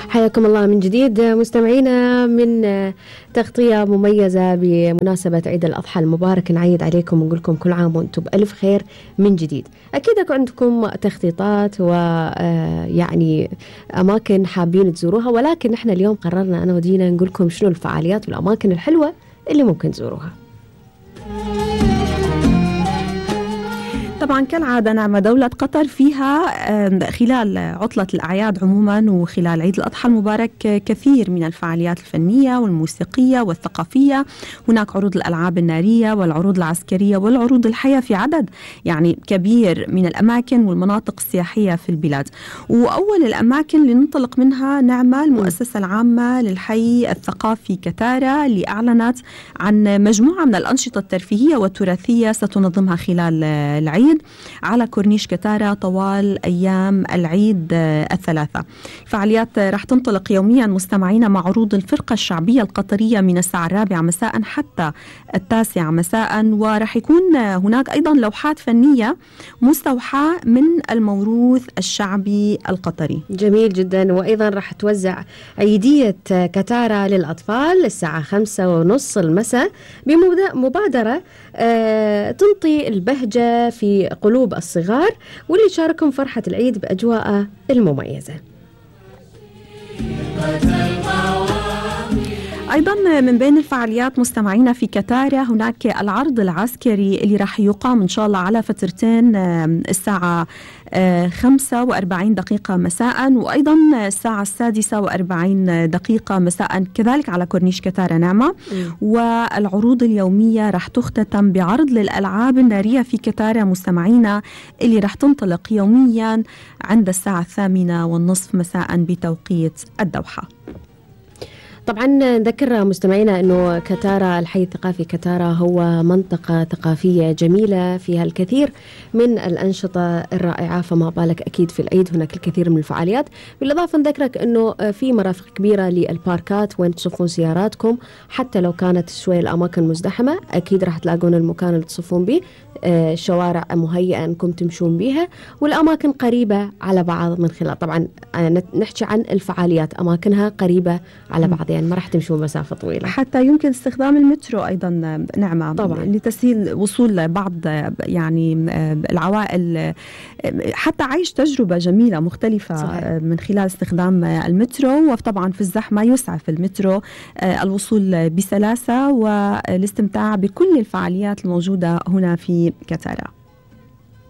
حياكم الله من جديد مستمعينا من تغطية مميزة بمناسبة عيد الأضحى المبارك. نعيد عليكم ونقول لكم كل عام وأنتم بألف خير من جديد. أكيد أكو عندكم تخطيطات ويعني أماكن حابين تزوروها، ولكن نحن اليوم قررنا أنا ودينا نقول لكم شنو الفعاليات والأماكن الحلوة اللي ممكن تزوروها. طبعا كالعادة نعمة دولة قطر فيها خلال عطلة الأعياد عموما وخلال عيد الأضحى المبارك كثير من الفعاليات الفنية والموسيقية والثقافية. هناك عروض الألعاب النارية والعروض العسكرية والعروض الحية في عدد يعني كبير من الأماكن والمناطق السياحية في البلاد. وأول الأماكن اللي ننطلق منها نعمة المؤسسة العامة للحي الثقافي كتارا، اللي أعلنت عن مجموعة من الأنشطة الترفيهية والتراثية ستنظمها خلال العيد على كورنيش كتارا طوال أيام العيد الثلاثة. فعاليات راح تنطلق يوميا مستمعين مع عروض الفرقة الشعبية القطرية من الساعة 4 مساء حتى 9 مساء، وراح يكون هناك أيضا لوحات فنية مستوحاة من الموروث الشعبي القطري. جميل جدا. وأيضا راح توزع عيدية كتارا للأطفال الساعة 5:30 المساء بمبادرة تنطي البهجة في قلوب الصغار واللي شاركهم فرحة العيد بأجواء المميزة. أيضا من بين الفعاليات مستمعينا في كتارا هناك العرض العسكري اللي راح يقام إن شاء الله على فترتين، الساعة 45 دقيقة مساء وأيضا الساعة 46 دقيقة مساء كذلك على كورنيش كتارا نعمة. والعروض اليومية راح تختتم بعرض للألعاب النارية في كتارا مستمعينا اللي راح تنطلق يوميا عند الساعة 8:30 مساء بتوقيت الدوحة. طبعا نذكر مستمعينا أنه كتارا الحي الثقافي كتارا هو منطقة ثقافية جميلة فيها الكثير من الأنشطة الرائعة، فما بالك أكيد في العيد هناك الكثير من الفعاليات. بالإضافة نذكرك أنه في مرافق كبيرة للباركات وين تصفون سياراتكم، حتى لو كانت شوي الأماكن مزدحمة أكيد راح تلاقون المكان اللي تصفون به، شوارع مهيئة أنكم تمشون بها والأماكن قريبة على بعض من خلال طبعا نحكي عن الفعاليات أماكنها قريبة على بعض، يعني ما راح تمشون مسافة طويلة. حتى يمكن استخدام المترو أيضا نعمة طبعا لتسهيل وصول بعض يعني العوائل، حتى عيش تجربة جميلة مختلفة صحيح. من خلال استخدام المترو. وطبعا في الزحمة يسعف المترو الوصول بسلاسة والاستمتاع بكل الفعاليات الموجودة هنا في كتارا.